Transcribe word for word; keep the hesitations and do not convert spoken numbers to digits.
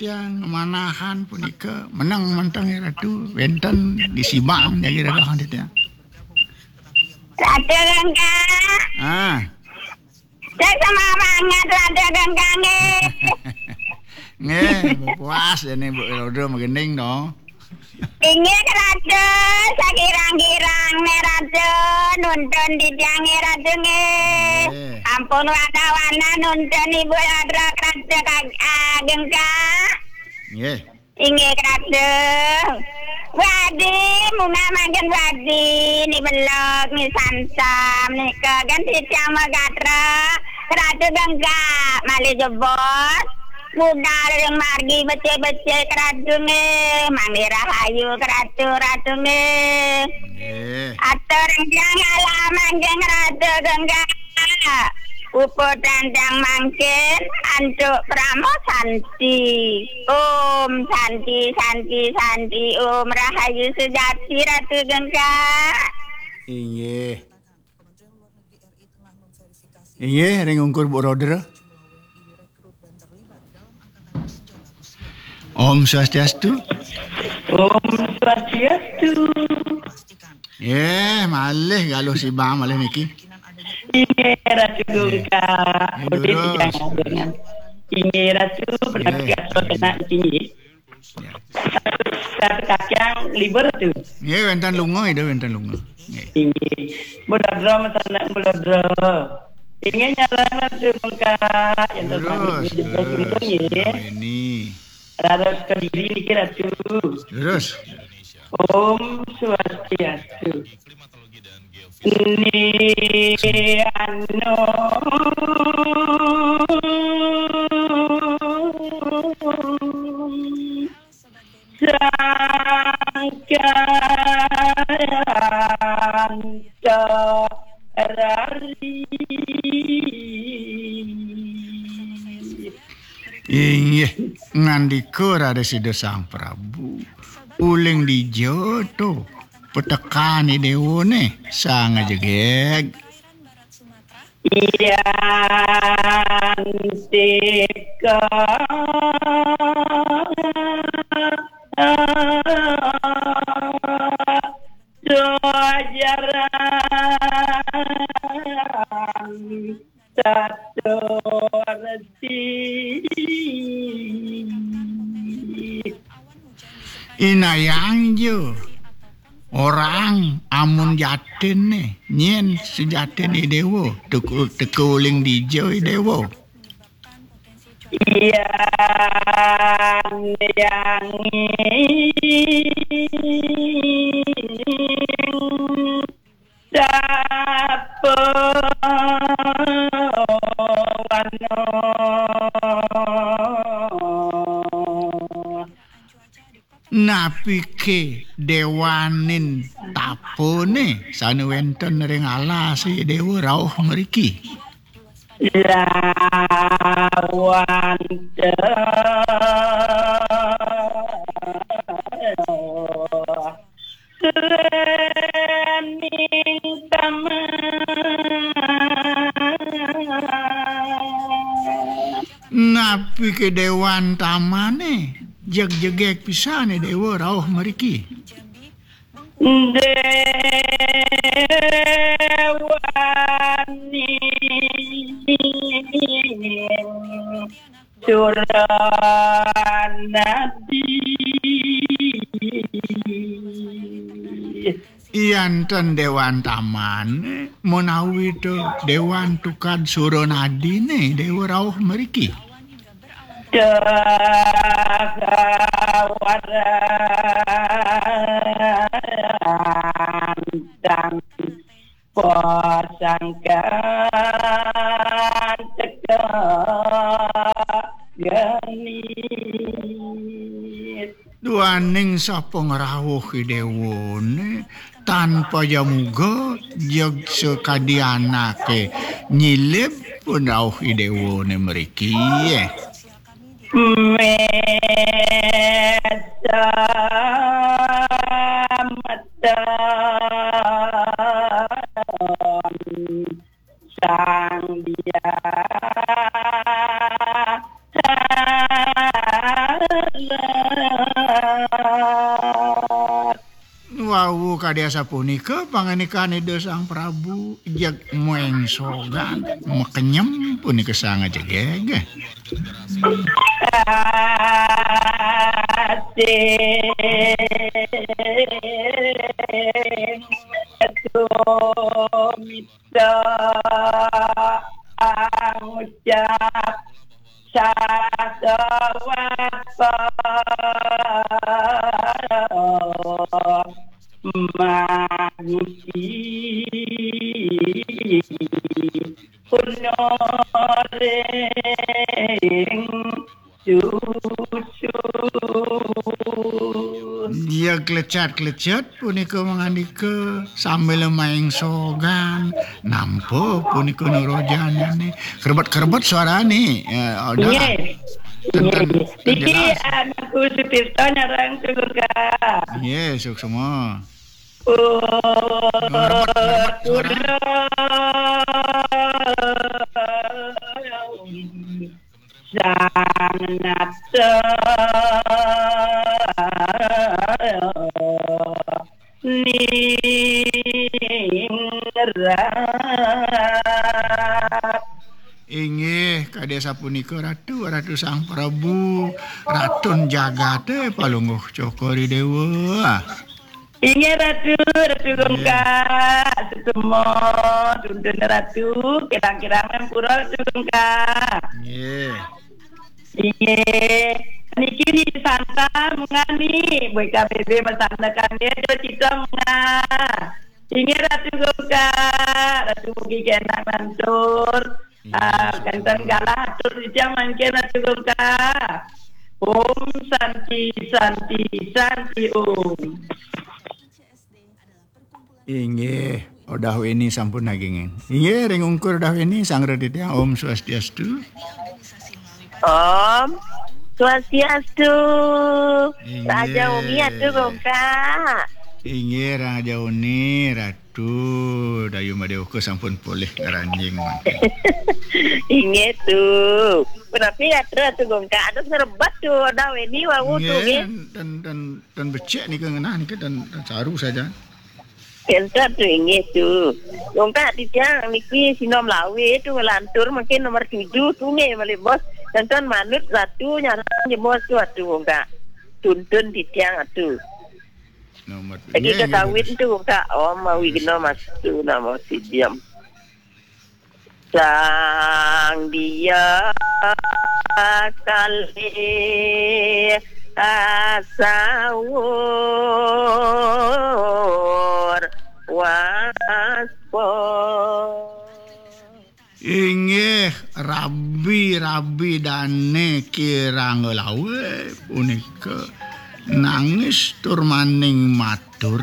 Tiang manahan punika meneng menteng ya Ratu, wenten di Sibang jagi rereh titiang. Ratu Gengga. Ah. Saya sama banget Ratu Gengga nggih. Nggih, puas jani Bu Rodro magending dong. Inggih Ratu, sakirang-kirang nih Ratu, nuntun titiang nggih Ratu nggih. Nggih. Ampun wanda-wanda nuntun Ibu Rodro Ratu kag-, ageng Kak. Nggih. Inggih Ratu. Wadi, munggah mangkin wadi, ni belog, ni sansam, ni kagan titiang magatra, Ratu Gengga, malih jebos. Budal ring margi becik-becik Ratu nggih, manggi rahayu Ratu, Ratu nggih. Nggih. Atur ring tiang alam anjing Ratu Gengga. Puput tentang mangkin antuk Parama Santi. Om Santi, Santi, Santi. Om Rahayu Sejati Ratu Gengga. Inggih. Inggih, ring ungkur Bu Rodra. Om Swastiastu. Om Swastiastu. Eh, malih galuh Sibang malih niki. Inggih Ratu Gungka. Inggih, Ratu, kena niki. Ya. Kata kacang libur tu. Nggih, wenten lunga, Ida wenten lunga. Nggih. Inggih. Bulodra masanak bulodra. Inggih nyaran Ratu Gungka. Yang terbaik. Terus, terus. Ini. Raros Kediri niki Ratu. Terus. Om Swastiastu. Ni anu sangkaranta rari. Inggih, ngandika raris Ida Sang Prabu, uling dija to petekan Idewane sang jegeg. Yan tika jaran Satorti. Inayang ja orang amun jatinne, nyen sejatin Idewa, teka, teka uling dija Idewa. Yan yang Sapa wano. Napike dewaning tapane sane wenten ring alase Dewa rauh mriki? Lawan Lening taman. Napike dewan tamane, jeg-jegeg pisane Dewa rauh mriki. Dewaning Suranadi. Yan ten dewan tamane, menawi to dewan tukad Suranadine Dewa rauh mriki. Dawarantang pasangkan teka geni. Duaning sapa ngrauh Idewane tanpa jamuga, jeg sakadi anake nyilib pun rauh Idewane mriki. Mesemeton Sang Dia. Wau kadi asapunika pangandikan Ida Sang Prabu, jeg maengsogan, makenyem punika sang ajegeg. Asing tumita angucap sasawat magusi punoring susu. Dia klecat-klecat punika mangandika sambil maengsogan, nampa punika Nu Rojane. Kerebet-kerebet suarane, ya, udah. Nggih. Ten, ten, nggih, ten nggih. Niki jelas. Anakku Sutirta nyareng Sugurka. Nggih, suksma. Kerebet-kerebet suarane. Sang nata ningrat. Inggih, kadi asapunika Ratu, Ratu Sang Prabu, Ratun Jagate Palungguh Cokor I Dewa. Inggih Ratu, Ratu Gongka, setemo, tuntun Ratu, kirang-kirang ampura Ratu Gongka. Nggih. Inggih. Niki ni santa mengani, buat K B B masantakan dia, dia cita menga. Inggih Ratu Gongka, Ratu mugi kenak lantur. Ah, kenten galah atur titiang mangkin Ratu Gongka. Om Santi, Santi, Santi Om. Inggih, Odah Weni sampun nagingin. Inggih, ring ungkur Odah Weni, sang titiang Om Swastiastu. Om Swastiastu. Inggih. Raja Umi atuh Gongka. Inggih, Raja Uni, Ratu Dayu Madewaka sampun polih ngaranjing mangkin. Inggih tuh. Punapi atuh Gongka, atuh serebat tuh, Odah Weni wau tuh nggih. Nggih, dan, dan, dan becik nika ngenah nika dan, dan saru saja. Kenten tuh inggih tuh. Gongka titiang niki sinom lawe tuh ngelantur mungkin nomor tujuh tuh nggih malih bos. Kenten manut Ratu nyarang jebos tuh atuh Gongka. Tuntun titiang atuh. Nomor tujuh. Lagi nggih, nggih, ketawin terus. Tuh Gongka. Om Terus. Awighnam astu namo sidham. Sang dia kalih asawur waspa. Inggih, rabi-rabi dane kirang lawe punika nangis tur maning matur.